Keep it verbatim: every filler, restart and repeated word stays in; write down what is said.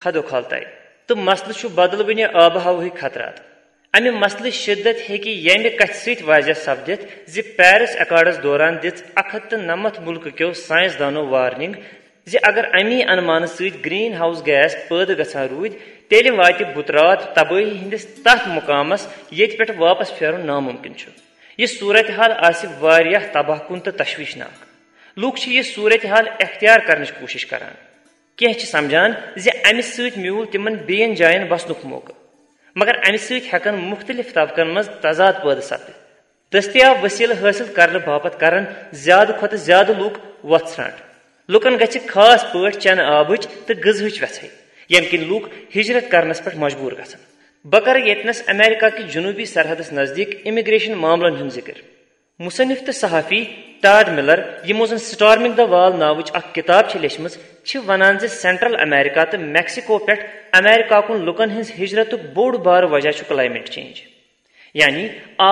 خدو خالتاے۔ تہٕ مسلہٕ چھُ بدلوٕنہِ آبہٕ ہوہٕکۍ خطرات۔ امہِ مسلٕچ شدت ہیٚکہِ ییٚمہِ کتھِ سۭتۍ واضح سپدِتھ زِ پیرس ایکارڈس دوران دِژ اکھ ہتھ تہٕ نَمَتھ مُلکہٕ کیو سائنسدانو وارننگ زِ اگر امی انمانہٕ سۭتۍ گرین ہاؤس گیس پٲدٕ گژھان روٗدۍ، تیٚلہِ واتہِ بُترات تبٲہی ہٕنٛدِس تتھ مقامس ییٚتہِ پٮ۪ٹھ واپس پھیرُن ناممکن چھُ۔ یہِ صورتحال آسہِ واریاہ تباہ کُن تہٕ تشویشناک۔ لوٗکھ چھِ یہِ صورتحال اختیار کرنٕچ کوٗشش کران۔ کینٛہہ چھِ سمجھان زِ امہِ سۭتۍ میوٗل تِمن بیٚین جاین وسنُک موقعہٕ، مگر امہِ سۭتۍ ہٮ۪کن مُختٔلِف طبقن منٛز تضاد پٲدٕ سپدِتھ۔ دٔستیاب وسیلہٕ حٲصِل کرنہٕ باپتھ کرن زیادٕ کھۄتہٕ زیادٕ لوٗکھ وۄتھ ژھرانٛٹ۔ لوٗکن گژھِ خاص پٲٹھۍ چنہٕ آبٕچ تہٕ غذہٕچ وٮ۪ژھٕے، ییٚمہِ کِنۍ لوٗکھ ہجرت کرنس پٮ۪ٹھ مجبوٗر گژھن۔ بہٕ کرٕ ییٚتنس امریکہ کہِ جنوٗبی سرحدس نزدیٖک امیگریشن معاملن ہُنٛد ذِکر۔ مصنف تہٕ صحافی ٹاڈ ملر، یِمو زن سٹارمنگ دی وال ناوٕچ اکھ کتاب چھےٚ لیچھمٕژ، چھِ ونان زِ سینٹرل امریکہ تہٕ میکسیکو پٮ۪ٹھ امریکہ کُن لوٗکن ہٕنٛز ہجرتُک بوٚڑ بارٕ وجہ چھُ کلائمیٹ چینج، یعنی آب